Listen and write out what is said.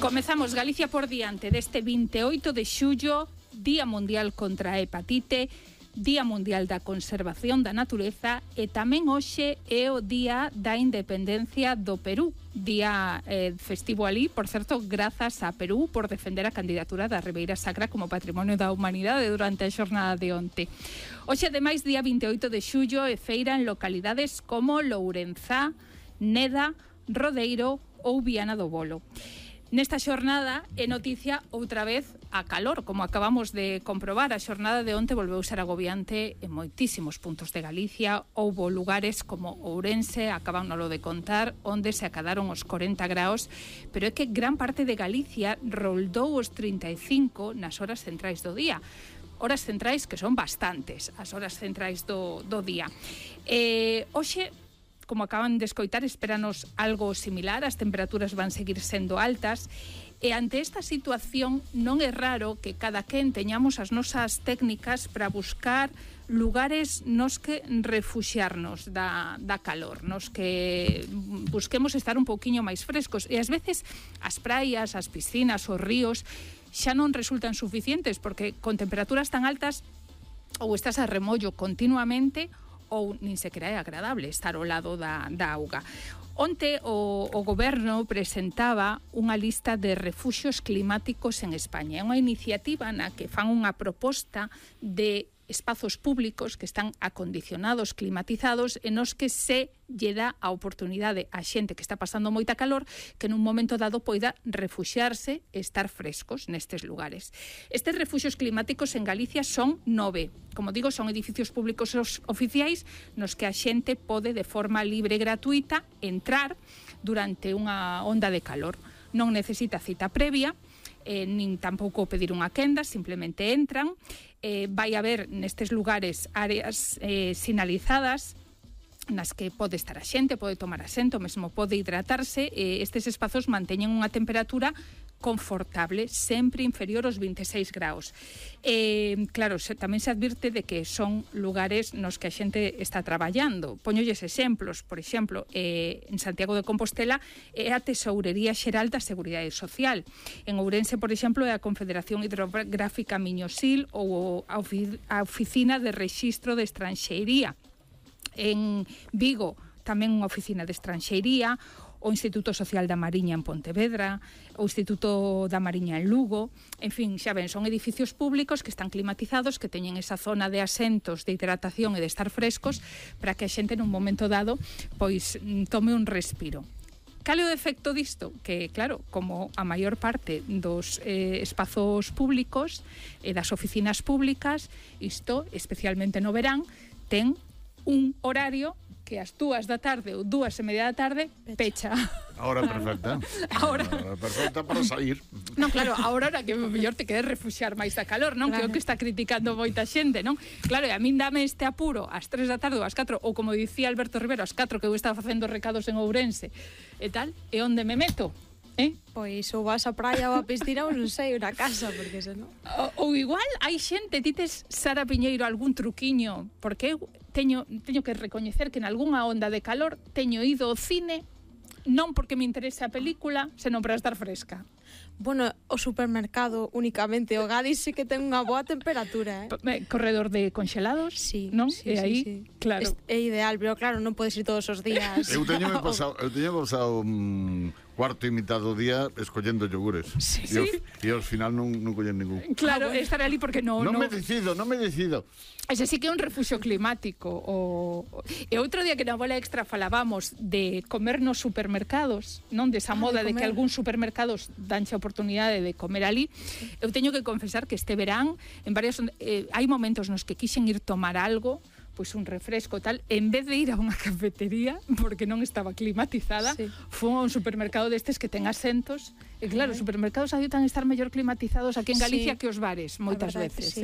Comezamos Galicia por diante deste 28 de xullo, Día Mundial contra a Hepatite, Día Mundial da Conservación da Natureza e tamén hoxe é o Día da Independencia do Perú. Día festivo ali, por certo, grazas a Perú por defender a candidatura da Ribeira Sacra como Patrimonio da Humanidade durante a xornada de onte. Hoxe, ademais, día 28 de xullo, e feira en localidades como Lourenzá, Neda, Rodeiro ou Viana do Bolo. Nesta xornada é noticia outra vez a calor, como acabamos de comprobar. A xornada de onte volveu ser agobiante en moitísimos puntos de Galicia. Houbo lugares como Ourense, acabámoslo de contar, onde se acadaron os 40 graus, pero é que gran parte de Galicia roldou os 35 nas horas centrais do día. Horas centrais que son bastantes, as horas centrais do día. Hoxe, como acaban de escoitar, espéranos algo similar, as temperaturas van seguir sendo altas, e ante esta situación non é raro que cada quen teñamos as nosas técnicas para buscar lugares nos que refuxiarnos da calor, nos que busquemos estar un pouquiño máis frescos, e ás veces as praias, as piscinas, os ríos xa non resultan suficientes, porque con temperaturas tan altas ou estás a remollo continuamente ou nin sequera é agradable estar ao lado da auga. Onte o goberno presentaba unha lista de refuxios climáticos en España. É unha iniciativa na que fan unha proposta de espazos públicos que están acondicionados, climatizados, e nos que se lle dá a oportunidade a xente que está pasando moita calor que nun momento dado poida refuxiarse e estar frescos nestes lugares. Estes refuxios climáticos en Galicia son 9. Como digo, son edificios públicos oficiais nos que a xente pode de forma libre e gratuita entrar durante unha onda de calor. Non necesita cita previa, nin tampouco pedir unha quenda, simplemente entran. Vai haber nestes lugares áreas sinalizadas nas que pode estar a xente, pode tomar asento, mesmo pode hidratarse. Estes espazos manteñen unha temperatura confortable, sempre inferior aos 26 graus. Claro, tamén se advirte de que son lugares nos que a xente está traballando. Poñolles exemplos, por exemplo, en Santiago de Compostela é a Tesourería Xeral da Seguridade Social. En Ourense, por exemplo, é a Confederación Hidrográfica Miñosil ou a Oficina de Rexistro de Estranxeiría. En Vigo, tamén unha oficina de estranxeiría, o Instituto Social da Mariña en Pontevedra, o Instituto da Mariña en Lugo. En fin, xa ven, son edificios públicos que están climatizados, que teñen esa zona de asentos, de hidratación e de estar frescos para que a xente nun momento dado pois tome un respiro. Cal é o defecto disto? Que, claro, como a maior parte dos espazos públicos e das oficinas públicas, isto, especialmente no verán, ten un horario que ás 2 da tarde ou 2:30 da tarde pecha. A hora perfecta. A hora perfecta para sair. Non, claro, a hora que mellor te queres refuxiar máis da calor, non? Claro. Que é o que está criticando moita xente, non? Claro, e a min dame este apuro ás 3 da tarde ou ás 4, ou como dicía Alberto Rivero, ás 4 que eu estaba facendo recados en Ourense e tal, e onde me meto? Pois ou vas á praia ou á piscina ou non sei, na casa, porque senón... Ou igual hai xente, tites, Sara Piñeiro, algún truquiño, porque eu teño que recoñecer que en algunha onda de calor teño ido ao cine non porque me interese a película, senón para estar fresca. Bueno, o supermercado únicamente, o Gadis sí que ten unha boa temperatura, Corredor de congelados, sí, non? Sí, e aí, sí. Claro. É ideal, pero claro, non podes ir todos os días. Eu teño pasado cuarto e mitad do día escollendo yogures. Sí. E ao final non collen ningún. Claro, estar ali porque non me decido. Ese sí que é un refuxio climático. E outro día que na bola extra falábamos de comer nos supermercados, non desa moda de que algúns supermercados danche a oportunidade de comer ali. Eu teño que confesar que este verán en varios hai momentos nos que quixen ir tomar algo, pois un refresco tal, en vez de ir a unha cafetería porque non estaba climatizada, foi a un supermercado destes que ten asentos, e claro, os supermercados adoitan estar mellor climatizados aquí en Galicia que os bares, moitas veces.